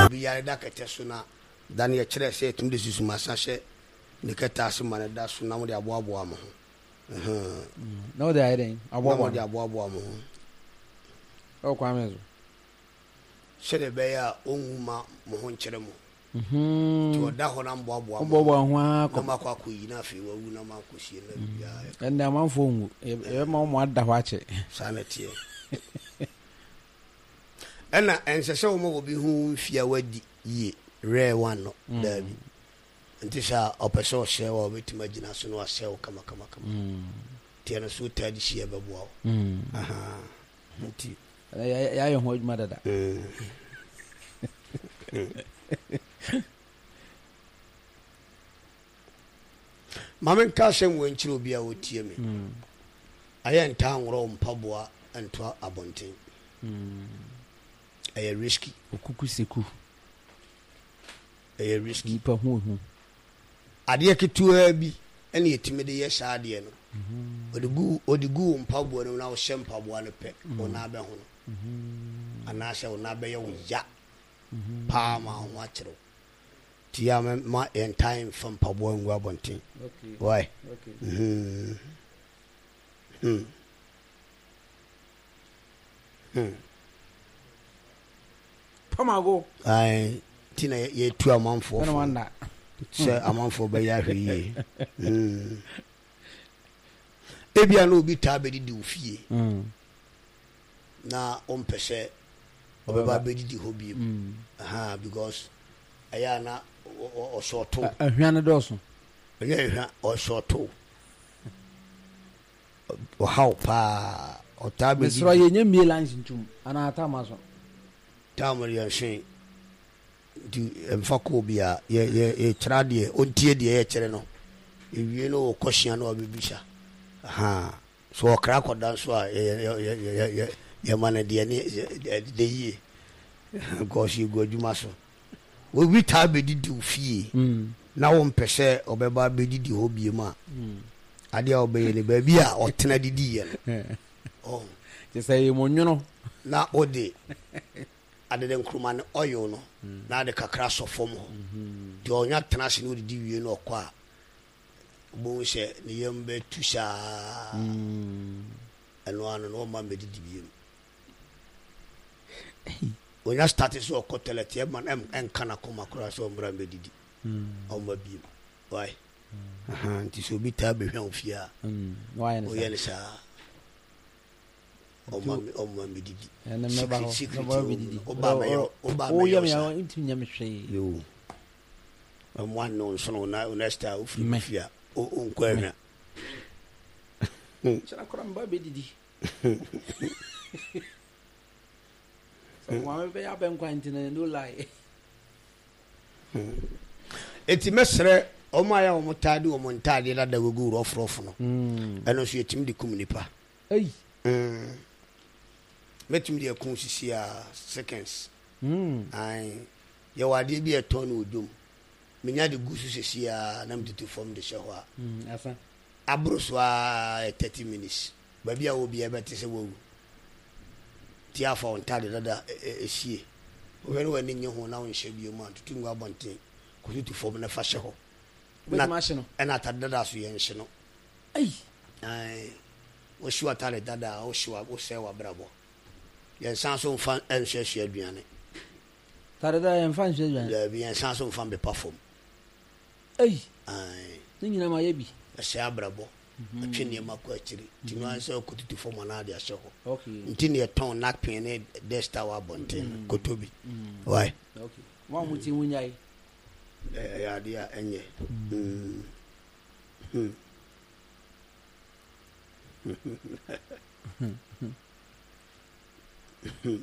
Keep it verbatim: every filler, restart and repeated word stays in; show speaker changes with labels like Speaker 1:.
Speaker 1: Obi yare da kɛtɛ so na da no yɛkyerɛ sɛ yɛtumi de susumasa hyɛ ne kɛtɛ ase ma no da so na mode aboaboa mo ho.
Speaker 2: Na wode ayɛ dɛn?
Speaker 1: Aboaboa na mode aboaboa mo ho.
Speaker 2: Ɛwɔ kwan bɛn so?
Speaker 1: Sɛdeɛ ɛbɛyɛ a ɔnwu ma mo ho nkyerɛ mo. Nti ɔda hɔ na mboaboa mo
Speaker 2: ho na
Speaker 1: moakɔ akɔyi na afei wawu na moakɔsie na biribiara ayɛ
Speaker 2: kama. Ɛnde amanfoɔ nwu. Yɛbɛma wɔn ada hɔ akyɛ.
Speaker 1: Saa na ɛteɛ. Ɛna ɛnsɛ sɛ woma obi hu wo mfie a woadi yie, rare one no, daabi. Nti sɛ ɔpɛ sɛ ɔsɛe wo a, ɔbɛtumi agyina so na wasɛe wo kamakamakama. Nti ɛno nso wotaa de sie a ɛbɛboa wo. Ahaa, nti.
Speaker 2: Yɛayɛ ho adwuma dada.
Speaker 1: Ma menka asɛm wei nkyerɛ obi a ɔtie me. Ayɛ ntaa nworɔ wo mpaboa nto abɔnten. Ɛyɛ risky.
Speaker 2: Okuku seku.
Speaker 1: Ɛyɛ risky.
Speaker 2: Nipa hu ehu.
Speaker 1: Adeɛ ketewaa bi ɛna yɛtumi de yɛ saa adeɛ no. Ɔde gu ɔde gu wo mpaboa no mu na wohyɛ mpaboa no pɛ, wo nan bɛhono. Anaasɛ wo nan bɛyɛ wo ya paa ma wo ho akyere wo. Nti yɛ a ma yɛntaa mfa mpaboa ngu abɔnten. Why? Mm-hmm. Hmm. Hmm.
Speaker 2: Pamago.
Speaker 1: Ayi, ti na yɛtu amanfoɔ fo sɛ amanfoɔ bɛyɛ ahwɛ yie. Hmm. Ebia na obi taa bɛdidi wo fie hmm. na ɔmpɛ sɛ ɔbɛba bɛdidi hɔ bio. Hmm. Aha, because ɛyɛ a na ɔsɔɔto.
Speaker 2: Ahwia no dɔɔso.
Speaker 1: Ɛnyɛ ahwia, ɔsɔɔto. Ɔhaw paa. Ɔtaa bɛdidi.
Speaker 2: Mesrɛ yɛnyɛ mmie lines ntum anaa tam aso.
Speaker 1: Tam no yɛnhwe nti ɛmfa kɔ obi a yɛ yɛ yɛkyerɛ adeɛ ɔntie deɛ yɛkyerɛ no ewie no wɔ kɔhyia no wabɛbisa ahaa so ɔkra akɔda nso a yɛ yɛ yɛ yɛ yɛ yɛma no deɛ ne de yie because yɛgu adwuma so. Obi taa bɛdidi wo fie na wompɛ sɛ ɔbɛba abɛdidi hɔ biom a, adeɛ a wobɛyɛ ne baabi a ɔtena didiiɛ no. Ɔho.
Speaker 2: Kyɛ sɛ ɛyɛ mo nwono.
Speaker 1: Na wode adede nkruma ne oil no na ade kakra asɔ fam hɔ. Deɛ ɔnya tena ase na ɔdidi wie na ɔkɔ a, wobɛhu sɛ ne yam bɛtu saa. Ɛno ano no ɔmma mmɛdidi biom. Onya starte sɛ ɔkɔ toilet ɛma no ɛnka n'akoma koraa sɛ ɔmmra mmɛdidi. Ɔmma bio. Why? Ahaa, nti sɛ obi taa bɛhwa wo fie a, woyɛ no saa. Ɔmma ɔmma mmɛdidi. Secret secret wɔ mu no. Woba mɛyɛ woba mɛyɛ wo saa. Yoo. Ɛmmoa ne wo nsono na next time wofiri wo fie a, wonkɔ ahwa.
Speaker 2: Kyerɛ koraa meba bɛdidi.
Speaker 1: Eti mɛsrɛ wɔn a yɛ a wɔn taa de wɔn ntaadeɛ dada gugu rɔfrɔf no, mm. ɛno nso yɛtumi de kum nipa. Mm. Mɛtumi de akum sisi a seconds. Mm. Ae, yɛwɔ adeɛ bi a ɛtɔn no wɔ dwom. Menya de gu so sisi a na metutu fam de hyɛ hɔ a. Mm, Aboro so ara yɛ thirty minutes. Baabi a wɔ biara bɛte sɛ woawu. Nti afa wo ntade dada sie. Wohwɛ na w'ani nnye ho na wonhyɛ bio mu a, tutu ngu abɔnten, kɔtutu fam na fa hyɛ hɔ.
Speaker 2: Wobɛtumi ahye no.
Speaker 1: Ɛna atade dada so yɛnhye no.
Speaker 2: Ei!
Speaker 1: Ae, wohyew atade dada a, wohyew a, wosɛe w'abrabɔ. Yɛnsan so mfa nsuasua aduane.
Speaker 2: Atade dada yɛmfa nsua aduane?
Speaker 1: Daabi, yɛnsan so mfa mpepa fam.
Speaker 2: Ei!
Speaker 1: Ae.
Speaker 2: Ne nyinaa mayɛ bi.
Speaker 1: Ɛsɛe abrabɔ. Ɛtwe nneɛma kɔ akyiri. Nti no ara sɛ ɔkɔtutu fam anaa de ahyɛ hɔ. Nti na yɛtɔn napkin ne duster wɔ abɔnten no. Kɔtɔ bi. Why?
Speaker 2: Mo a motie monyae.
Speaker 1: Ɛyɛ adeɛ a ɛnyɛ. Mm. Hmm. Hmm.